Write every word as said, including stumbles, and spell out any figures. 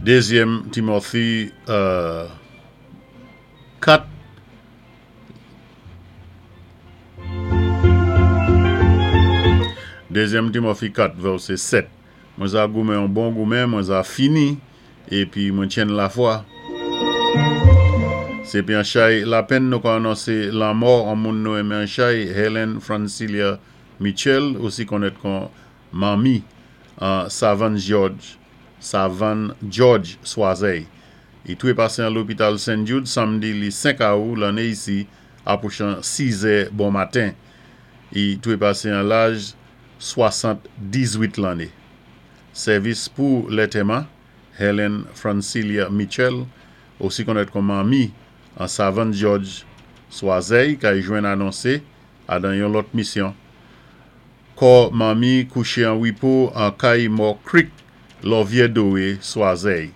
Dézyèm Timothy euh, kat. Dézyèm Timothy kat, vèsé sèt. Mwen za goumen yon bon goumen, mwen za fini, épi mwen tyenn lafwa. Sé pi an chay lapenn nou ka anonsé lanmò an moun nou enmen an chay, Helen Francilia Mitchell, osi konnèt kon Manmi, an Savann George, Savann George Swazey. I touwé pasé an lopital Saint Jude samdi li senk awou lanné isi apwochan sizè bon maten. I touwé pasé an laj swasann-diz-wit lanné. Sèvis pou lantèman Helen Francilia Mitchell, osi konnèt kon Manmi, an Savann George Swazey, kay jwenn anonsé adan yon lòt misyon. Kò Manmi kouché an wipo an kay Mò Creek, lò Vyè Dowé, Swazey.